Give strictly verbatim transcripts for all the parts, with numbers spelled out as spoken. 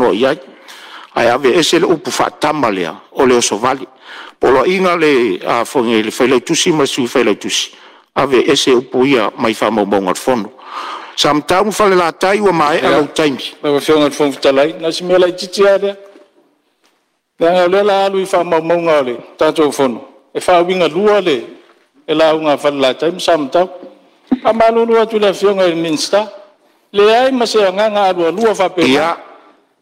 saunoa i ai, ae aveese le upu faatama lea o le osovale. Poloaiga le Failautusi ma le Sui Failautusi, aveese upu ia mai faamaumauga o le Fono. Samatau ma Falelatai, ua maea lou taimi. Lau Afioga i le Fofoga Fetalai, na o si mea laitiiti lava lea, leaga o lea o le a alu i faamaumauga o le tatou Fono, e faauigalua le lauga a Falelatai ma Samatau. E faamalulu atu i le Afioga i le Minisita, leai ma se agaga alualua faapena,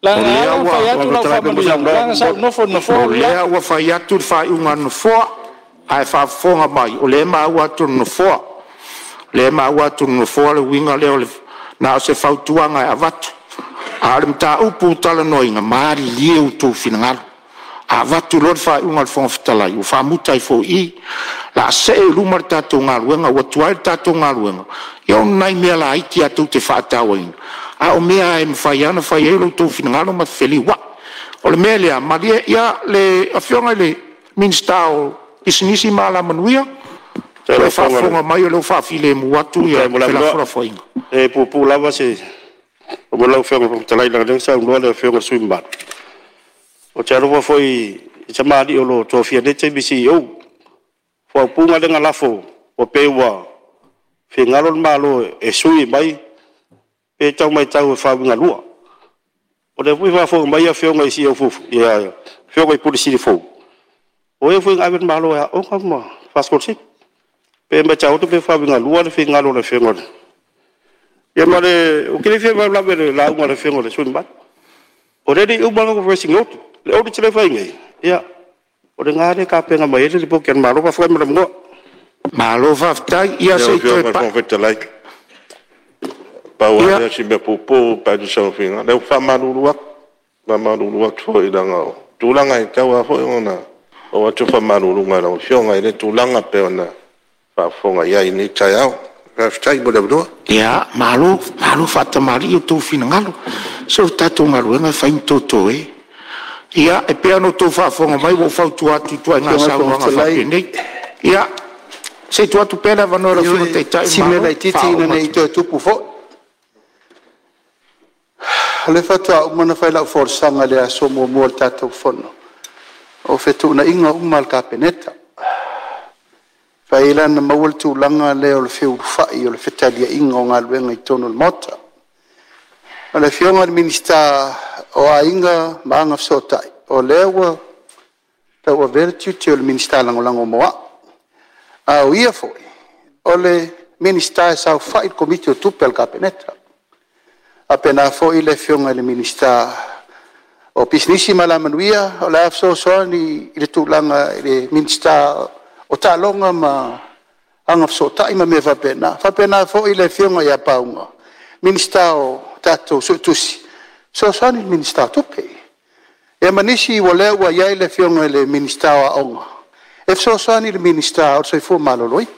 leaga e ala ona fai atu lau faamanuiaga, leaga sa ou nofo i le nofoa O le lea ua fai atu le faaiuga a le Nofoa, ae faafofoga mai o lea e maua atu e le Nofoa. O lea e maua atu e le Nofoa le uiga lea o le… Na o se fautuaga e avatu, a o le mataupu ua talanoaina, malilie outou finagalo. A avatu loa le faaiuga a le Fofoga Fetalai, ua faamuta ai foi i i. O le a see i luma le tatou galuega. Ua tuai le tatou galuega ona o nai mea laiti lava tou te faatauaina, a o mea lava e mafai lava ona fai ai lo outou finagalo ma feliuai. O le mea lea, malie le Afioga i le Minisita o Pisinisi ma Alamanuia, o lo o faafofoga mai o lea ua faafilemu atu Faafetai mo le avanoa. felafolafoaiga. E puupuu lava se upu lau Afioga i le Fofoga Fetalai, leaga o lea na saunoa le Afioga i le sui usufono mamalu. Ou te alofa foi i tamalii o lo o tofia i lenei taimi e C E O. O faaupuga lea na lafo ua pei ua finagalo le Malo e sui mai, e pei e tau matau e faauigalua. O lea foi e faafofoga mai Afioga i C E O fuafua, afioga i Pule Sili fou, o e foi na ave le Malo e aooga ma faasikolasipi. E pei e matau atu pei e faauigalua le finagalo o le Afioga i le… Ia ma le… Ou te le fia faalavelave i le lauga a le Afioga i le sui usufono mamalu. O lea e le i uma le latou audit. Le audit lea e fai nei, ia o lena e tapena mai ai le lipoti a le Malo. Faafetai mo le avanoa. Malo faafetai. Ia Lau se i toe Afioga i le pai... Fofoga Fetalai, pau lava Ia, lea o si mea puupuu pe a tusa ma finagalo. Leai ou te faamalulu atu, faamalulu atu foi leaga o tulaga e tatau lava foi ona oo atu le faamaluluga i lau Afioga i lea tulaga pei ona faafofoga i ai i lenei taeao. Faafetai mo le avanoa. Ia, malo, malo faatamalii outou finagalo. Se o le tatou galuega e fai ma totoe. Ia, e pei ona outou faafofoga mai ua ou fautua atu i ituaiga Lau Afioga i le Fofoga saunoaga Fetalai, faapenei. Ia, se i tuu atu pea le avanoa i lau Afioga i le ioe, Taitai o si le mea Malo e laitiiti faauma ina ne i atu. toe tupu foi. O lea faatoa uma ona fai lau folasaga i le aso muamua o le tatou Fono, o fetuunaiga uma a le Kapeneta. E mafai ai la ona maua le tulaga lea o le feulufai o le fetaliaiga o galuega i totonu o le Maota. O le Afioga i le Minisita o Aiga ma Agafesootai, o lea ua tauavea le tiute o le Minisita Lagolago mo au. A o ia foi o le Minisita e saofai i le Komiti o Tupe a le Kapeneta. E faapena foi le Afioga i le Minisita o Pisinisi ma Alamanuia, o le a fesoasoani i le tulaga i le Minisita o Taaloga ma Agafesootai ma mea faapena. E faapena foi le Afioga ia Pauga, Minisita o tatou Suetusi, e fesoasoani i le Minisita o Tupe. Ia ma nisi o lea ua i ai le Afioga i le Minisita o Aoga, e fesoasoani i le Minisita o le Soifua Maloloina.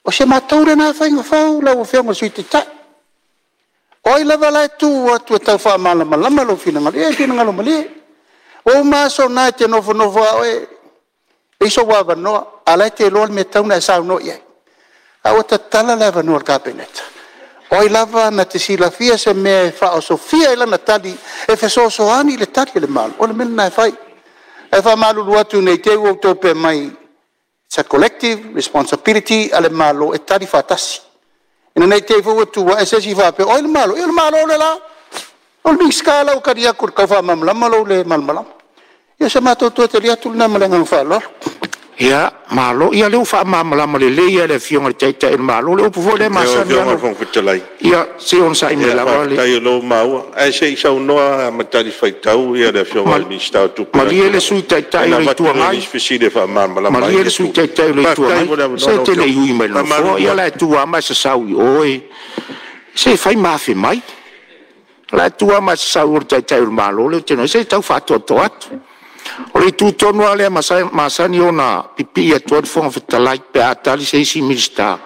O si a matou lena faiga fou lau Afioga i le Sui Taitai. O ai lava la e tu atu e tau faamalamalama lou finagalo, ia e finagalo malie. Ua uma aso na e te nofonofo lava oe, leai sou avanoa, a o la e te iloa le mea e tatau ona e saunoa i ai. A ua tatala le avanoa o le Kapeneta, o ai lava na te silafia se mea e faaosofia ai lana tali e fesoasoani i le tali a le Malo, o le mea lena e fai. Ae faamalulu atu ne i te i ua outou faapea mai, it's a collective responsibility a le Malo e tali faatasi. Ina ne i te i foi ua tu ae se isi faapea o ai le Malo? Ia o le Malo lea o la. O le Minisita la ua tali atu i le tau faamalamalama lou le malamalama. Ia o se matou toe tali atu lena ma le agaga faaaloalo. Ia, malo. Ia o lea ua faamalamalama lelei lava e le Afioga i le Taitai o le Malo le upu foi lea e Lau masani Afioga i lava le ona... Fofoga Fetalai, Ia, se i onosai mai ia lava le... faafetai o lea ua maua, ae se i saunoa lava ma talifuaitau le Afioga i le Minisita o Tupe Malie le Sui i Taitai la, o ona le Itu avatu lea o Agai, nisi fesili e faamalamalama ai malie ia le Sui tulaga. Taitai o le Itu Faafetai Agai, mo le se avanoa e lau te le Afioga. i ui mai i le Nofoa. Faamalulu Ia o la atu. e tu lava ma e sasau i o e... Se e fai ma afe mai. O la e tu lava ma e sasau i o i le Taitai o le Malo lea ou te iloa nei. Se tau faatoatoa atu. O le itu tonu lava lea e masani ona pipii atu ai le Fofoga Fetalai pe a tali se isi Minisita,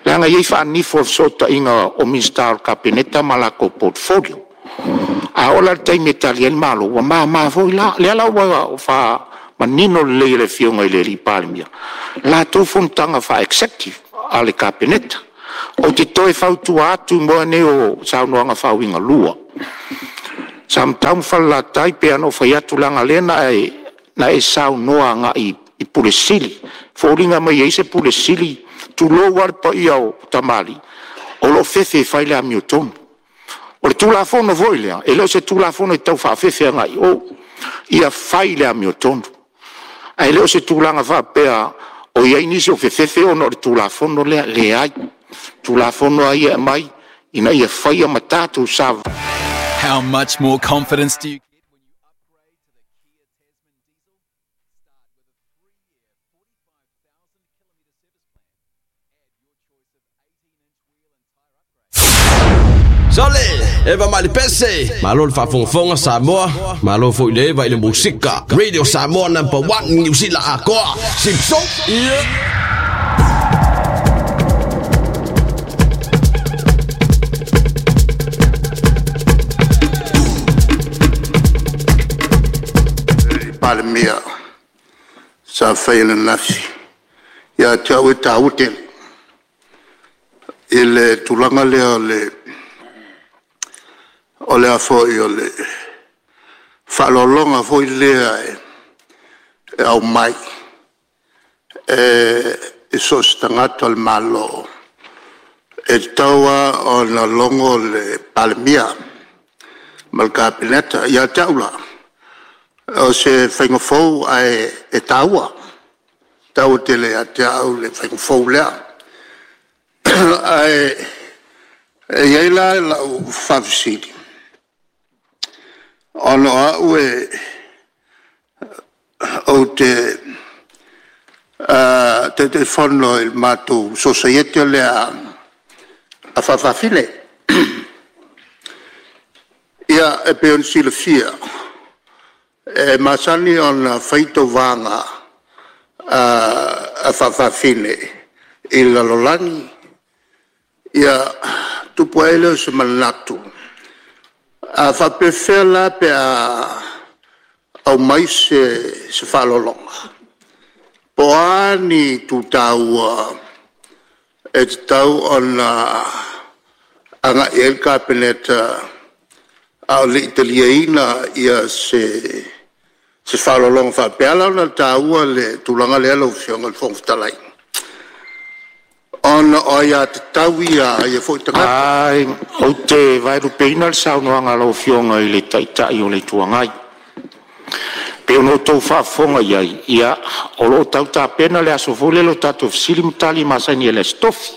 leaga e i ai faanifo o le fesootaiga o Minisita o le Kapeneta ma latou portfolio. A oo la i le taimi e tali ai le Malo, ua mama foi la. O lea la ua faamanino lelei e le Afioga i le Palemia latou fonotaga faa-executive a le Kapeneta. Ou te toe fautua atu i mea nei o saunoaga faauigalua. Samatau ma Falelatai, e pei ona ou fai atu, leaga o lea na e, na e saunoa agai i Pule Sili. E foliga mai e i ai se Pule Sili, tulou lava le paia o tamalii, o lo o fefe e fai le amiotonu. O le Tulafono foi lea, e le o se Tulafono e tau faafefe agai i o, ia fai le amiotonu, ae le o se tulaga faapea o i ai nisi o fefefe ona o le Tulafono lea. E leai. O le Tulafono lava ia e aumai, ina ia faia ma tatou savavali How much more confidence do you Sole, Eva Malipese, malo le faafogafoga Samoa, malo foi le Eva i le musika. Radio Samoa number one, Niu Sila atoa. Simpson, yeah. Palemia sa faia ananafi, ia te au e taua tele i le tulaga lea o le o le a foi o le faaaloaloga foi lea e aumai e so o se tagata o le Malo, e tatau lava ona logo le Palemia ma le Kapeneta. Ia te au la, o se faiga fou ae e taua, e taua tele ia te au le faiga fou lea. Ae e i ai la lau faafesili, ona o au ou te Taitaifono i le matou Sosaiete lea a faa-fafine. Ia, e pei ona silafia, e masani ona fai tauvaga a faa-fafine i le lalolagi. Ia, tupu ae ai lea o se manatu, a faapefea la pe a aumai se faaaloaloga? Po o a ni itu taua e tatau ona agai i ai le Kapeneta a o le i taliaina se faaaloaloga faapea? E ala ona taua le tulaga lea lau Afioga i le Fofoga Fetalai, ona o aiatatau ia a ia foi tagata. Ou te vaelupeina le saunoaga a lau Afioga i le Taitai o le Itu Agai, e pei ona outou faafofoga i ai, ia, o lo o tau tapena le aso foi lele o tatou fesili ma tali masani ai i le Aso Tofi.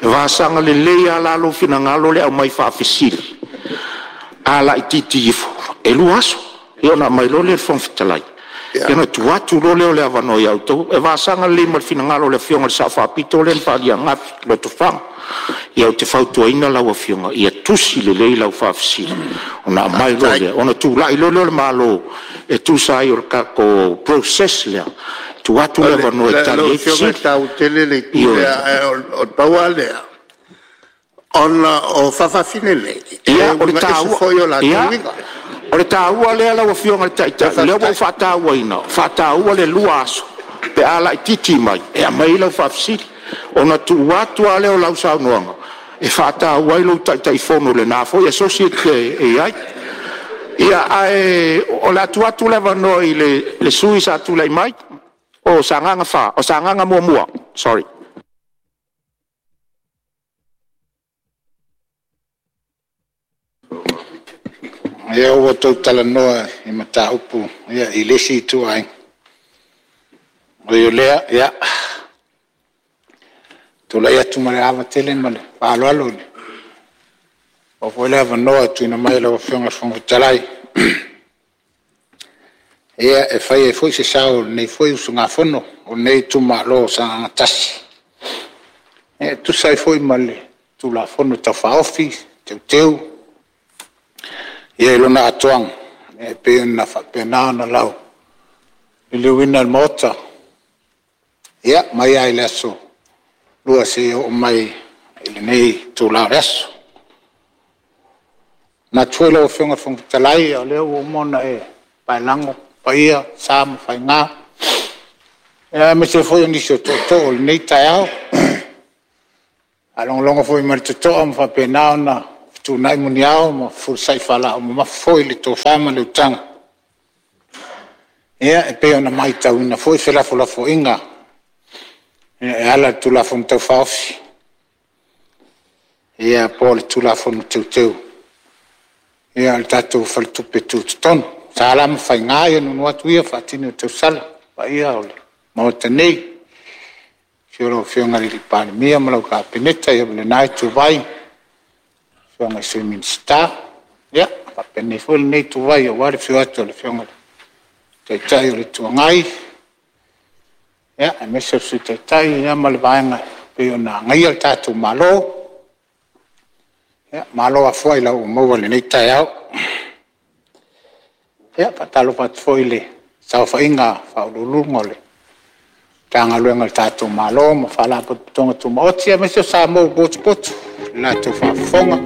E vasaga lelei lava la lou finagalo le aumai faafesili, a laitiiti ifo e lua aso, ia ona aumai loa lea i le Fofoga Fetalai, ia ona tuu atu loa lea o le avanoa ia outou. E vasaga lelei ma le finagalo o le Afioga i le Sao Faapito lea na faaalia ananafi, Lotofaga. Ia ou te fautuaina lau Afioga, ia tusi lelei lau faafesili ona aumai loa lea, ona tulai loa lea o le Malo e tusa ai o le tatou process lea, tuu atu le avanoa e tali Lau ai Afioga e fesili. taua tele le itu Ioe. lea, ae o le pau lava lea, ona o faa-fafine nei, e Ia, o le uiga ese taua, foi o latou ia, uiga. o le taua lea lau Afioga i le Ia Taitai, o lea ua ou faafetai. faatauaina, faataua le lua aso pe a laitiiti mai e aumai ai lau faafesili. Ona tuu atu lava lea o lau saunoaga e faataua ai lou Taitaifono i lena foi Associate e i ai. Ia, ae o le a tuu atu le avanoa i le le sui usufono sa tulai mai o Sagaga fa, o Sagaga muamua, sorry. Ia ua outou talanoa i mataupu i le isi ituaiga. Ui o lea, ia, tulai atu ma le ava tele ma le faaaloalo, ua maua foi le avanoa e tuuina mai e lau Afioga i le Fofoga Fetalai, ia, e fai ai foi se sao o lenei foi usugafono o lenei itumalo o Sagaga tasi e tusa ai foi ma le Tulafono Tau Faaofi Teuteu i lona atoaga e pei ona faapena ona lauliliuina e le Maota, ia, mai lava i le aso Lua seia oo mai i lenei itula o le aso. E manatu foi lau Afioga i le Fofoga Fetalai, o lea ua uma ona e paelago paia, o sa ma faiga, aemaise foi o nisi o tootoo o lenei taeao. Ua faalogologo foi ma le totoa ma faapena ona Fetuunai muniao ma fefulisai faalaau mamafa foi le tofa ma le utaga e pei ona matauina foi felafolafoaiga e ala i le Tulafono Tau Faaofi po o le Tulafono Teuteu o le tatou Faletupe Tutotonu. Sa la ma faiga ia nuunuu atu ia faatini o tausala le paia o le Maota nei, i le afio o lau Afioga i le Palemia ma lau Kapeneta ma lena ituvai, afioga i Sui Minisita, faapena foi lenei ituvai aua le afio atu o le Afioga i le Taitai o le Itu Agai, aemaise o le Sui Taitai ma le Vaega e pei ona agaia le tatou Malo. Malo afua ailao ua maua i lenei taeao. E faatalofa atu foi i le saofaiga a Ofisa Sili o Pulega o Matagaluega a le tatou Malo ma Faalapotopotoga Tumaoti aemaise o Samoa ua potopoto i le latou faafofoga